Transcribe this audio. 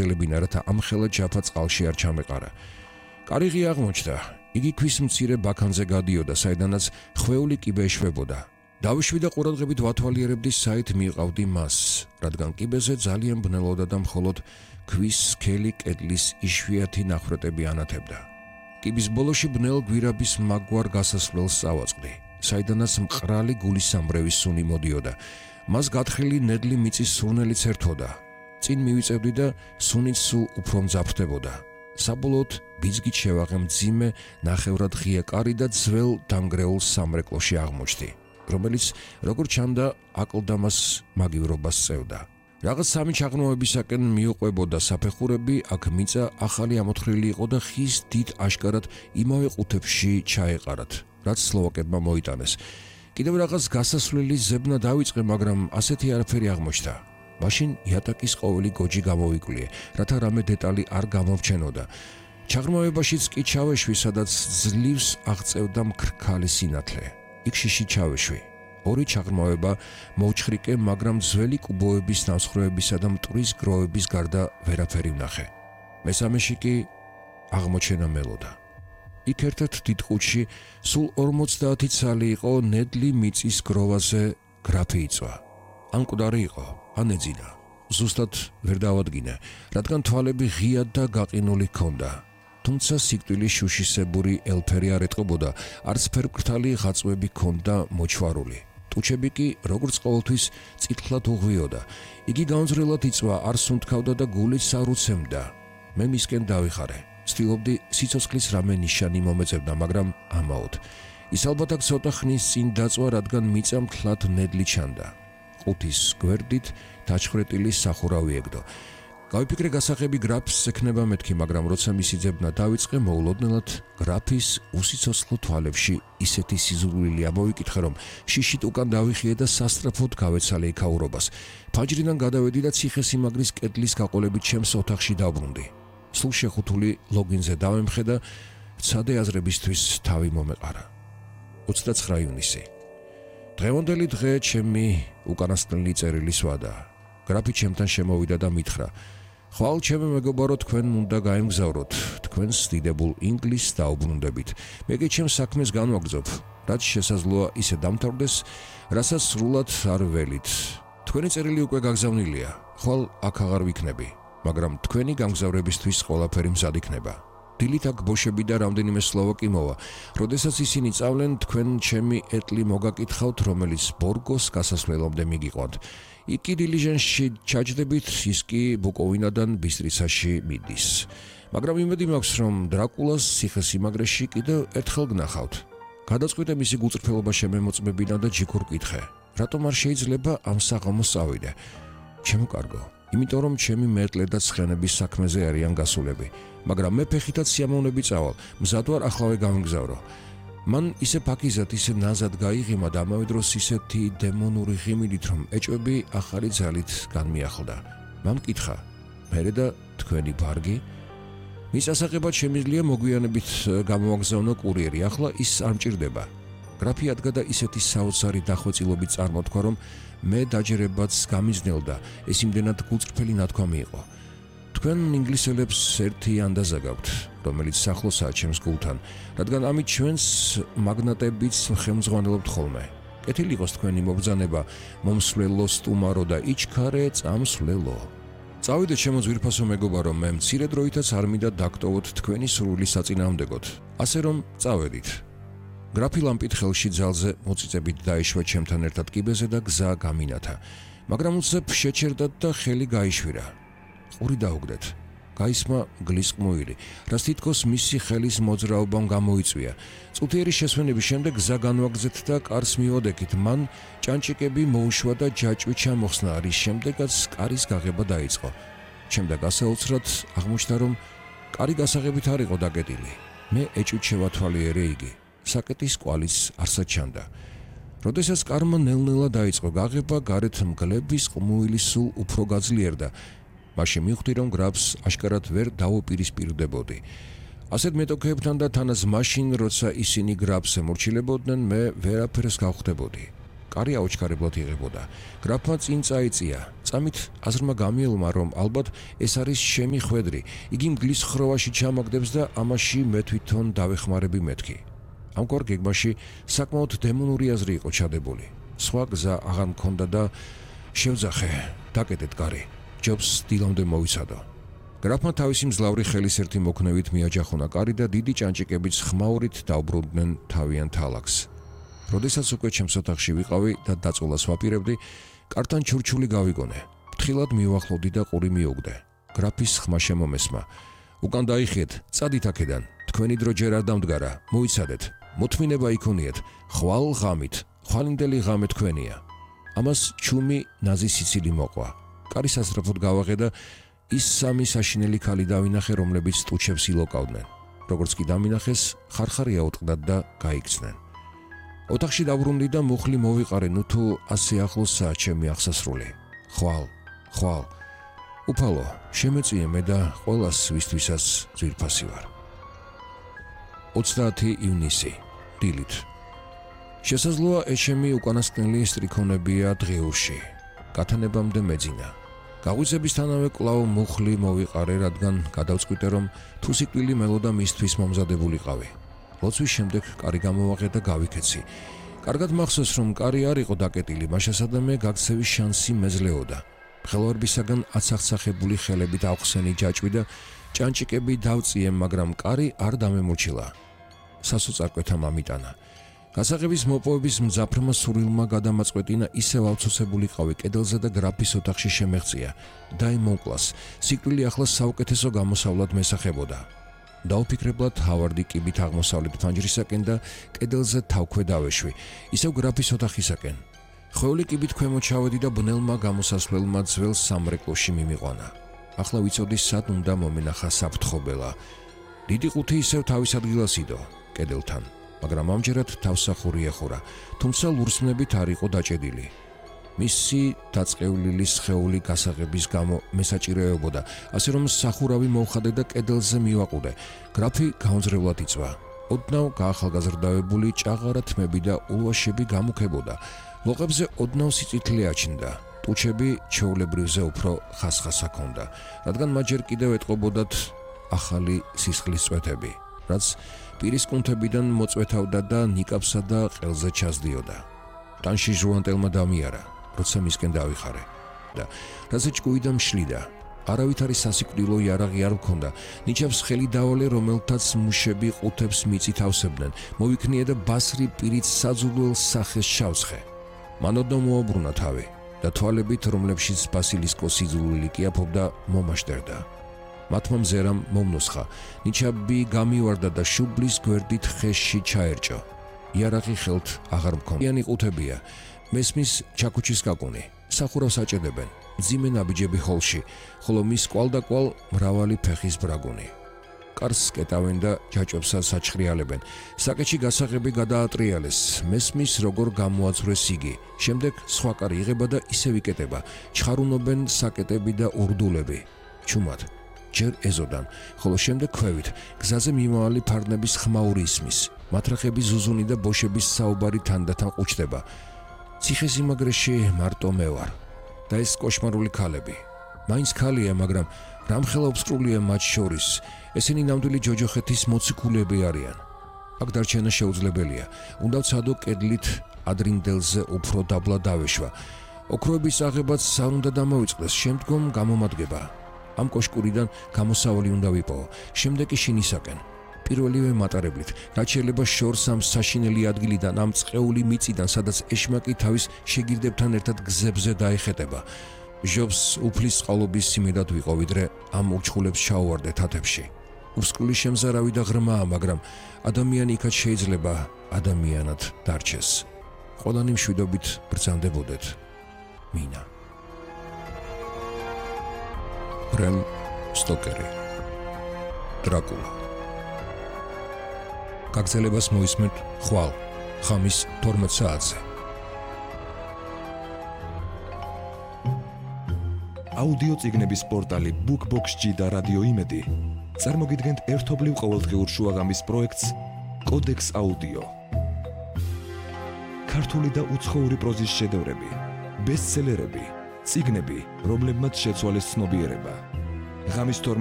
გააგრძელებინა, რათა ამ ხელა ჯაფა წყალში არ ჩამეყარა. კარიღი აღმოჩნდა. იგი ქვის მცირე ბაქანზე გადიოდა, საიდანაც ხვეული კიბე ეშვებოდა. დავიშვი და ყურადღებით ვათვალიერებდი, საით მიყავდი მას, რადგან კიბეზე ძალიან ბნელოდა და მხოლოდ ქვის სქელი კედლის იშვიათი ნახრეტები ანათებდა. კიბის ბოლოში ბნელ გვირაბის მაგვარ გასასვლელს წავაწყდი, საიდანაც მყრალი გულისამრევის სუნი მოდიოდა. მას გათხილი ნედლი მიწის სურნელიც ერთვოდა. წინ მივიწევდი და სუნიც სულ უფრო მძაფრდებოდა. საბოლოოდ ბიძგით შევაღე მძიმე, ნახევრად ღია კარი და ძველ დამგრეულ სამრეკლოში აღმოჩნდი, რომელიც როგორც ჩანდა აკლდამას მაგივრობას წევდა. რაღაც სამი ჩაღრმავებისაკენ მიუყვებოდა საფეხურები, აქ მიწა ახალი ამოთხრილი იყო და ხის დიდ აშკარად იმავე ყუთებში ჩაეყარათ, რაც სლოვაკებმა მოიტანეს. კიდევ რაღაც გასასვლელი ზებნა დავიწყე, მაგრამ ასეთი არაფერი აღმოჩნდა. მაშინ იატაკის ყოველი გოჯი გამოვიკვლიე, რათა რამე დეტალი არ გამომრჩენოდა. ჩაღრმავებაშიც კი ჩავეშვი, სადაც ძლივს აღწევდა მქრქალი სინათლე. იქ შიში ჩავეშვი. ორი ჩაღრმავება მოვჩხრიკე, მაგრამ ძველი კუბოების ნამსხვრევებისა და მტვრის გროვების გარდა ვერაფერი ვნახე. მესამეში კი აღმოჩენა მელოდა. იქ ერთ-ერთ დიდ ყუთში სულ 50 ცალი იყო, ნედლი მიწის გროვაზე გრაფი იწვა. ან მკვდარი იყო, ან ეძინა. ზუსტად ვერ დავადგინე, რადგან თვალები ღიად და გაყინული ჰქონდა. თუმცა სიკვდილი შუშისებური ელფერი არ ეტყობოდა, არც ფერმკრთალი ღაწვები ჰქონდა მოჩვარული. ტუჩები კი, როგორც ყოველთვის, წითლად უღვიოდა. იგი გამძლეად იწვა, არ სუნთქავდა და გულიც არ უცემდა. მე მისკენ დავიხარე. ვცდილობდი სიცოცხლის რამე ნიშანი მომეწევდა, მაგრამ ამაოდ. ის ალბათ აქ ცოტა ხნის წინ დაწვა, რადგან მიწა მთლად ნედლი ჩანდა. ყუთის გვერდით დაჩხრეტილი სახურავი ეგდო. გავიფიქრე გასაღები გრაფს ექნება მეთქი, მაგრამ როცა მისი ძებნა დავიწყე, მოულოდნელად გრაფის უსიცოცხლო თვალებში ისეთი სიზრული ამოვიკითხე, რომ შიშით უკან დავიხიე და სასწრაფოდ გავეცალე იქაურობას. ფაჯრიდან გადავედი და ციხესიმაგრის კედლის გაყოლებით ჩემს ოთახში დავბრუნდი. სულ შეხუთული ლოგინზე დავემხე და ცადე აზრებისთვის თავი მომეყარა. 29 ივნისი. დღევანდელი დღე ჩემი უკანასკნელი წერილის ვადა. გრაფი ჩემთან შემოვიდა და მითხრა: ხვალ ჩემი მეგობარო, თქვენ უნდა გაემგზავროთ, თქვენს დიდებულ ინგლისს დაუბრუნდებით. მე კი ჩემს საქმეს განვაგრძობ, რაც შესაძლოა ისე დამთავრდეს, რასაც სრულად არ ველით. თქვენი წერილი უკვე გაგზავნილია, ხვალ აქ აღარ ვიქნები, მაგრამ თქვენი გამგზავრებისთვის ყველაფერი მზად იქნება. დილით აქ ბოშები და რამდენიმე სლოვაკი მოვა. როდესაც ისინი წავლენ, თქვენ ჩემი ეტლი მოგაკითხავთ, რომელიც ბორგოს გასასვლელამდე მიგიყვანთ. იქ კი დილიჟანსში ჩაჯდებით, ის კი ბუკოვინადან ბისტრიცაში მიდის. მაგრამ იმედი მაქვს, რომ დრაკულას ციხესიმაგრეში კიდევ ერთხელ გნახავთ. გადაწყვიტე მისი გულწრფელობა შემემოწმებინა და ჯიქურ კითხე, რატომ არ შეიძლება ამ საღამოს წავიდე? ჩემო კარგო, იმიტომ რომ ჩემი მეტლე და ცხენების საქმეზე არიან გასულები, მაგრამ მე ფეხითაც სიამოვნები წავალ, მზად ვარ ახლა გავიმგზავრო. მან ისე ფაქიზად, ისე ნაზად გაიღიმა და ამავე დროს ისეთი დემონური ღიმილით, რომ ეჭვები ახალი ძალით განმიახლდა. მან მკითხა: მერე და თქვენი ბარგი? მის ასაღებად შემიძლია მოგვიანებით გამოვაგზავნო კურიერი, ახლა ის არ მჭირდება. გრაფი ადგა და ისეთი საოცარი დახვეწილობით წარმოთქვა, რომ მე დაჯერებაც გამიზნელდა, ეს იმდენად გულწრფელი ნათქვამი იყო. თქვენ ინგლისელებს ერთი ანდაზა გაქვთ, რომელიც სახლოსაა ჩემს გულთან, რადგან ამით ჩვენს მაგნატებიც ხელმძღვანელობთ ხოლმე. კეთილი იყოს თქვენი მობრძანება, მომსვლელო სტუმარო და იჩქარე წამსვლელო. წავიდეთ ჩემო ძვირფასო მეგობარო, მე მცირე დროითაც არ მინდა დაგტოვოთ თქვენი სურვილის საწინააღმდეგოდ, ასე რომ წავედით. გრაფი ლამპით ხელში ძალზე მოწიწებით დაეშვა ჩემთან ერთად კიბეზე და გზა გამინათა, მაგრამ უცებ შეჩერდათ და ხელი გაიშვირა. ყური დაუგდეთ. გაისმა გლისყმუილი, რაც თითქოს მისი ხელის მოძრაობამ გამოიწვია. წუთიერი შესვენების შემდეგ გზა განვაგრძეთ და კარს მივოდექით. მან ჭანჭიკები მოუშვა და ჯაჭვი ჩამოხსნა, რის შემდეგაც კარის გაღება დაიწყო. შემდეგ ასაოცრად აღმოჩნდა, რომ კარი გასაღებით არ იყო დაკეტილი. მე ეჭვით შევათვალიერე იგი. საკეტის კვალიც არსად ჩანდა. როდესაც კარმა ნელ-ნელა დაიწყო გაღება, გარეთ მგლების ყმუილი სულ უფრო გაძლიერდა. მაშინ მივხვდი, რომ გრაფს აშკარად ვერ დავუპირისპირდებოდი. ასეთ მეტოქეებთან და თანაც მაშინ, როცა ისინი გრაფს ემორჩილებოდნენ, მე ვერაფერს გავხდებოდი. კარი აუჩქარებლად იღებოდა. გრაფმა წინ წაიწია. წამით აზრმა გამიელმა, რომ ალბათ ეს არის შემი ხვედრი. იგი მგლის ხროვაში ჩამაგდებს და ამაში მე თვითონ დავეხმარები მეთქი. ამგვარ გეგმაში საკმაოდ დემონური აზრი იყო ჩადებული. სხვა გზა აღარ მქონდა და შევძახე, დაკეტეთ კარი. ჯობს დილამდე მოვიცადო. გრაფმა თავისი მძლავრი ხელის ერთი მოქნევით მიაჯახუნა კარი და დიდი ჭანჭიკებით ხმაურით დაუბრუნდნენ თავიან თალახს. როდესაც უკვე ჩემს ოთახში ვიყავი და დაწოლას ვაპირებდი, კართან ჩურჩული გავიგონე. ფრთხილად მივახლოვდი და ყური მიუგდე. გრაფის ხმა შემომესმა. უკან დაიხიეთ, წადით აქედან. თქვენი დრო ჯერ არ დამდგარა, მოიცადეთ. მოთმინება იქონიეთ, ხვალ ღამით, ხვალინდელი ღამე თქვენია. ამას ჩუმი ნაზი სიცილი მოყვა. კარი სასწრაფოდ გავაღე და ის სამი საშინელი ქალი დავინახე, რომლებიც ტუჩებს ილოკავდნენ. როგორც კი დამინახეს, ხარხარი აუტყდათ და გაიქცნენ. ოთახში დავრუნდი და მუხლი მოვიყარე, ნუ თუ ასე ახლოსაა ჩემი აღსასრული. ხვალ. უფალო, შემეწიე მე და ყველას ვისთვისაც ძვირფასი ვარ. 30 ივნისი, დილით. შესაძლოა ეჩემი უკანასკნელი სტრიქონებია დღეურში. გათანებამდე მეძინა. გაღვიძებისთანავე კვლავ მუხლი მოვიყარე, რადგან გადავწყვიტე, რომ თუ სიკვდილი მელოდა მისთვის მომზადებულიყავი. ლოცვის შემდეგ კარი გამოვაღე და გავიქეცი. კარგად მახსოვს, რომ კარი არ იყო დაკეტილი, მაშასადამე გაქცევის შანსი მეძლეოდა. ხელვარბისაგან აცახცახებული ხელებით ავხსენი ჯაჭვი და ჭანჭიკები დავწიე, მაგრამ კარი არ დამემორჩილა. სასოწარკვეთა მამიტანა. გასაღების მოპოვების მძაფრმა სურვილმა გადამაწყვეტინა, ისევ ავცოცებულიყავი კედელზე და გრაფის ოთახში შემეღწია. დაიმონკლას, სიკვდილი ახლა საუკეთესო გამოსავლად მესახებოდა. დაუფიქრებლად ჰავარდი კიბით აღმოსავლეთ ფანჯრისაკენ და კედელზე თავქვე დავეშვი, ისევ გრაფის ოთახისაკენ. ხვეული კიბით ქვემოთ ჩავედი და ბნელმა გამოსასვლელმა ძველ სამრეკლოში მიმიყვანა. ახლა ვიცოდი, სად უნდა მომენახა საფრთხობელა. დიდი ყუთი ისევ თავის ადგილას იდო, კედელთან, მაგრამ ამჯერად თავსახური ეხურა, თუმცა ლურსმნებით არ იყო დაჭედილი. მისი დაწყევლილი სხეული გასაღების გამო მესაჭირეებოდა, ასე რომ სახურავი მოვხადე და კედელზე მივაყუდე. გრაფი გაუნძრევლად იწვა. ოდნავ გაახალგაზრდავებული ჭაღარა თმები და ულვაშები გამუქებოდა. ლოყებზე ოდნავ სიწითლე აჩნდა. ტუჩები ჩვეულებრივზე უფრო ხასხასა ჰქონდა, რადგან მათ ჯერ კიდევ ეტყობოდათ ახალი სისხლის წვეთები, რაც პირის კუნთებიდან მოწვეთავდა და ნიკაპსა და ყელზე ჩასდიოდა. ტანში ჟუანტელმა დამიარა, როცა მისკენ დავიხარე და რასაც ჭკუიდან მშლიდა. არავითარი სასიკვდილო იარაღი არ მქონდა. ნიჩაბს ხელი დავალე, რომელთაც მუშები ყუთებს მიწით ავსებდნენ. მოვიქნიე და ბასრი პირით საძულველ სახეს შავსხე. მანოდნო მოაბრუნა თავი და თვალებით, რომლებშიც ბასილისკოს სიძულვილი კიაფობდა, მომაშტერდა. მათმა მზერამ მომნოსხა. ნიჩაბი გამივარდა და შუბლის გვერდით ხეში ჩაერჭო. იარაღი ხელთ აღარ მქონდიანი ყუთებია. მესმის ჩაქუჩის კაკუნი. სახურავს აჭედებენ. მძიმე ნაბიჯები ხოლში, ხოლო მის კვალდაკვალ მრავალი ფეხის ბრაგუნი. კარს კეტავენ და ჯაჭვებსაც აჩხრიალებენ. საკეთში გასაღები გადაატრიალეს. მესმის როგორ გამოაწვრეს იგი. შემდეგ სხვა კარი იღება და ისევ იკეტება. ჩხარუნობენ საკეტები და ურდულები. ჩუმად. ჯერ ეზოდან, ხოლო შემდეგ ქვევით. გზაზე მიმავალი ფარნების ხმაური ისმის. მათრახების ზუზუნი და ბოშების საუბარი თანდათან ყუჩდება. ციხესიმაგრეში მარტო მე ვარ. და ეს კოშმარული ქალები. მაინც ქალია, მაგრამ რამხელა ობსკრულია მათ შორის. ესენი ნამდვილი ჯოჯოხეთის მოციქულები არიან. აქ დარჩენა შეუძლებელია. უნდა ვცადო კედლით ადრინდელზე უფრო დაბლა დავეშვა. ოქროების აღებაც არ უნდა დამოვიწყდეს, შემდგომ გამომადგება. ამ კოშკურიდან გამოსავალი უნდა ვიპოვო, შემდეგ კი შინისაკენ. პირველივე მატარებლით, რაც შეიძლება შორს ამ საშინელი ადგილიდან, ამ წყეული მიწიდან, სადაც ეშმაკი თავის შეგირდებთან ერთად გზებზე დაეხეტება. ჟობს უფლის წყალობის სიმედად ვიყო, ვიდრე ამ ურჩხულებს ჩაუვარდე თათებში. უსკული შემზარავი და ღრმაა, მაგრამ ადამიანი იქაც შეიძლება ადამიანად დარჩეს. ყველანი მშვიდობით ბრძანდებოდეთ. მინა. ბრემ სტოკერი. დრაკულა. გაგრძელებას მოისმენთ ხვალ, ხამის 12 საათზე. აუდიო წიგნების პორტალი BookBox-G და რადიო იმედი წარმოგიდგენთ ერთობლივ ყოველდღიურ შუაღამის პროექტს კოდექს აუდიო. ქართული და უცხოური პროზის შედევრები, ბესტსელერები, წიგნები, რომლებმაც შეცვალეს ცნობიერება. ღამის 12